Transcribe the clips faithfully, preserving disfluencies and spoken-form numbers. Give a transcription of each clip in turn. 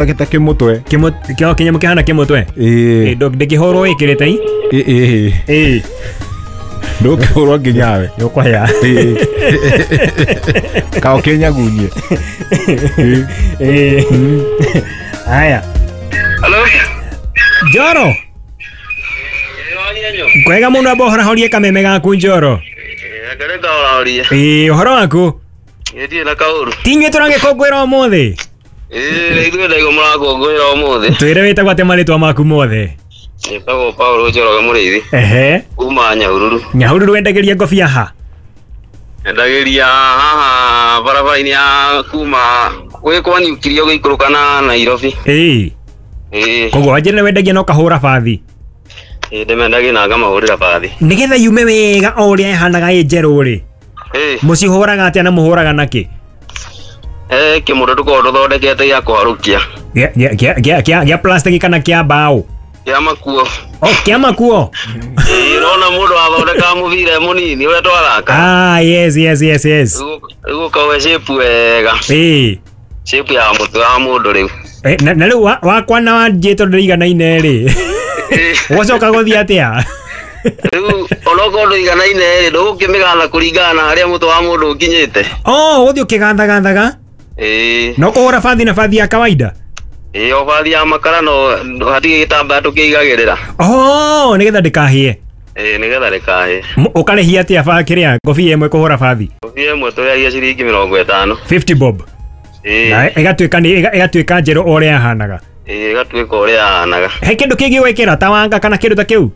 Gĩthondekete kĩmũtwe. Kĩmũ kĩo kĩnyamũ kĩhana kĩmũtwe. Ĩĩ. Ĩ ndĩkĩhũrwo ĩkĩrĩte i. Ĩĩ ĩĩ. Ĩ. Ndũkĩhũrwo nginya we. Nĩũkũhĩa. Ĩĩ. Ka ũkĩnyagunyie. Ĩ. Haya. Hello. Njoro. Kwega mũno amba ũhorahorie kameme gaku Njoro. Reke ngahorahorie. Ĩ ũhoro waku? Ndirĩ na kaũru. Ti inyuĩ tũragĩkũngũĩra ũmũthĩ? Ĩĩ ithuĩ ndaigua mũrakũngũĩra ũmũthĩ. Twĩre wĩtagwo atĩa marĩtwa maku mothe? Njĩtagwo Paul Njoroge Mũrĩithi. Ehe. Kuma Nyahururu. Nyahururu wendagĩria ngobia ha? Endagĩria haha barabara-inĩ ya kuma gwĩ kwa Niukiria ũgĩikũrũka na Nairobi. Ĩĩ. Ĩĩ. Koguo wanjĩre nĩ wendagia na ũkahũra bathi? Ĩĩ ndĩmendagia na ngamahũrĩra bathi. Nĩgetha yume wega o ũrĩa ĩhanaga ĩ njerũ rĩ. Ĩĩ. Mũcihũraga atĩa na mũhũraga nakĩ? Eh kĩmũndũ tũkoragwo tũthondekete gĩa kũharũkia. Gĩa gĩa gĩa gĩa gĩa plastic kana kĩa mbaũ? Kĩa makuo. Oh, kĩa makuo? Ĩĩ ũrona mũndũ athondekaga mũbira mũnini ũrĩa twathaka. Ah, yes yes yes yes. Rĩu ũkaũhe shape wega. Ĩĩ. Shape ya mũtwe wa mũndũ rĩu. Eh, na rĩu wakwa na wanjĩ tondũ ndũiganaine rĩ. Ũgacoka gũthiĩ atĩa? Rĩu onokorwo ndũiganaine rĩ ndũgũkĩmĩgatha kũringana na harĩa mũtwe wa mũndũ ũkinyĩte. Oh, ũgũthiĩ ũkĩgathagathaga? Ĩĩ. No kũhũra bathi na bathi ya kawaida? Ĩĩ o bathi ya makara no hatirĩ gĩtambaya tũkĩigagĩrĩra. Oh, nĩgetha ndĩkahĩe. Ĩĩ nĩgetha ndĩkahĩe. Ũkarĩhia atĩa ba kĩrĩa ngobia ĩmwe kũhũra bathi? Ngobia ĩmwe tũrĩhagia ciringi mĩrongo ĩtano. fifty bob. Ĩĩ. Na ĩgatuĩka nĩ ĩgatuĩka njerũ o ũrĩa yahanaga. Ĩĩ ĩgatuĩka ũrĩa yahanaga. He kĩndũ kĩngĩ gwĩkĩra ta wanga kana kĩndũ ta kĩu?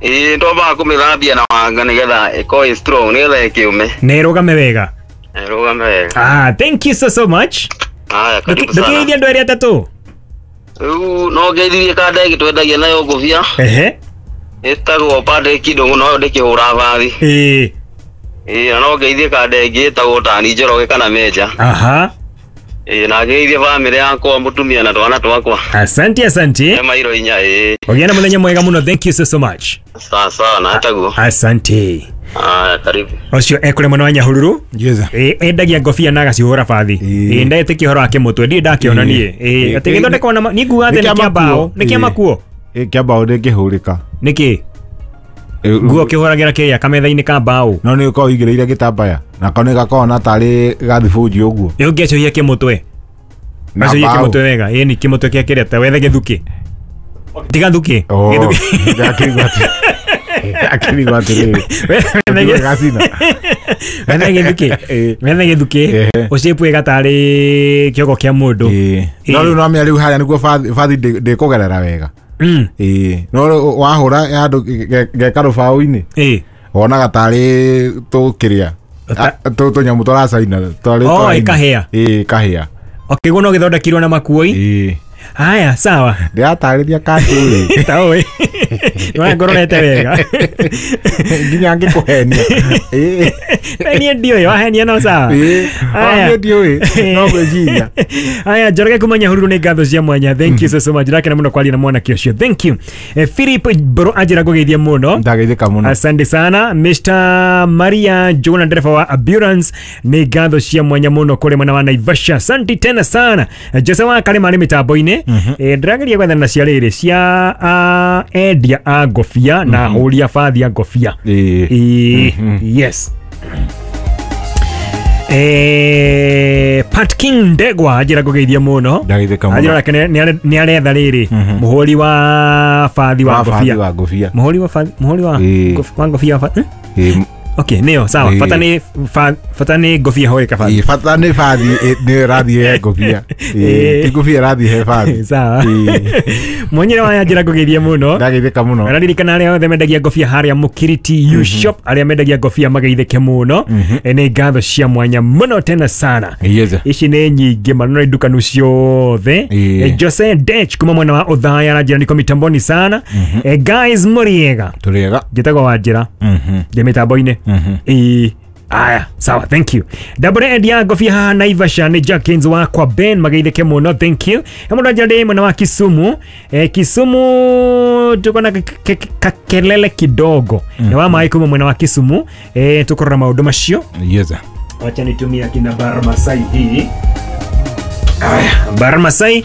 Ĩĩ twambaga kũmĩthambia na wanga nĩgetha ĩkorwo ĩ strong nĩgetha ĩkĩũme. Na ĩrũgame wega. Ĩrũgame wega. Ah, thank you so so much. Haya, karibu sana. Ndũkĩgeithie andũ erĩ atatũ? Rĩu no ngeithirie kanda ĩngĩ twendagia nayo ngobia. Ehe. Ĩtagwo Patrick Ndũng'ũ no ndĩkĩhũra bathi. Ĩĩ. Ĩĩ na no ngeithie kanda ĩngĩ ĩtagwo Tani Njoroge kana Meja. Aha. Ĩĩ na ngeithie bamĩrĩ yakwa mũtumia na twana twakwa. Asante asante. Ema iro inya ĩĩ. Ũgĩe na mũthenya mwega mũno. Thank you so so much. Sawa sawa na taguo. Asante. Ah, karibu. Ũcio ekũrĩ mwena wa Nyahururu. Yes. Ĩ endagia ngobia na agacihũra bathi. Ĩ ndetĩkia ũhoro wa kĩmũtwe ndirĩ ndakĩona niĩ. Ĩ atĩ gĩthondekwo na niĩ nguga atĩ nĩ kĩa mbaũ. Nĩ kĩa makuo? Ĩ kĩa mbaũ ndĩngĩhũrĩka. Nĩkĩ? Nguo ũkĩhũragĩra kĩrĩa kametha-inĩ ka mbaũ. No nĩ ũkoragwo ũigĩrĩire gĩtambaya na ko nĩ gakoragwo na tarĩ gathibũnji ũguo. Ĩ ũngĩacũhia kĩmũtwe. Acũhia kĩmũtwe wega. Ĩ nĩ kĩmũtwe kĩa kĩrĩa ta wethe gĩthukĩ. Tiga thukĩ. Gĩthukĩ. Ndakĩigua atĩ. Akĩrigwo atĩrĩrĩ. Wethe gĩthukĩ. Wethe gĩthukĩ. Ũcĩpue gatarĩ kĩongo kĩa mũndũ. No rĩu no menya rĩu harĩa nĩguo bathi ndĩkũgerera wega. Ĩĩ no wahũra handũ geka rũbaũ-inĩ. Ĩĩ. Wonaga tarĩ tũkĩrĩa. Tũnyamũ tũracaina. Oh, ĩkahĩa. Ĩĩ ĩkahĩa. Okĩguo no gĩthondekirwo na makuoi. Ĩĩ. Haya, sawa. Ndĩratarĩria kanjũ ĩ. Ta ũĩ. Nĩwangororete wega. Nginya ngĩkũhenia. Ĩĩ. Niĩ ndiũĩ, wahenia no sawa. Ĩĩ. Niĩ ndiũĩ, no ngwĩciria. Haya, Njoroge kuma Nyahururu nĩ ngatho cia mwanya. Thank you so so much. Ndakena mũno kwaria na mwanake ũcio. Thank you. Philip Mbũrũ anjĩra ngũgeithie mũno. Ndageithĩka mũno. Asante sana. Mister Maria Njuguna ndereba wa ambulance nĩ ngatho cia mwanya mũno kũrĩ mwena wa Naivasha. Asante tena sana. Jose wa Karema arĩ mĩtambo-inĩ. Eh ndĩrageria gwethana na cia rĩrĩ cia endia a ngobia na ahũri a bathi a ngobia. Ĩĩ. Yes. Eh Pat King Ndegwa anjĩra ngũgeithie mũno. Ndageithĩka mũno. Anjĩra nake nĩ aretha rĩrĩ mũhũri wa bathi wa ngobia. Wa ngobia. Mũhũri wa bathi mũhũri wa wa ngobia wa Okay, nĩyo sawa. Bata nĩ bata nĩ ngobia hũrĩka bathi. Ĩĩ bata nĩ bathi nĩ ĩrathiĩ he ngobia. Ĩĩ ti ngobia ĩrathiĩ he bathi. Sawa. Mwenyere wa anjĩra ngũgeithie mũno. Ndageithĩka mũno. Araririkana arĩa othe mendagia ngobia harĩa Mũkiriti U Shop arĩa mendagia ngobia mageithĩke mũno. Nĩ ngatho cia mwanya mũno tena sana. Ici nĩ nyingĩ mũno nĩ ndukanu ciothe. Jose Dech kuma mwena wa Othaya aranjĩra niko mitamboni sana. Guys mũrĩega. Tũrĩega. Njĩtagwo Wanjĩra. Ndĩ mĩtambo-inĩ. Ĩĩ. Aya, sawa, thank you. Dabore endia ngobia haha Naivasha nĩ Jackins wakwa Ben mageithĩke mũno, thank you. He mũndũ anjĩra ndĩ mwena wa Kisumu. Eh, Kisumu tuko na kakelele kidogo. Nĩ wa maĩ kuma mwena wa Kisumu. Eh, tukorora maũndũ macio. Yes. Wacha nitumie akina Bar Masai hii. Aya, Baran Masai.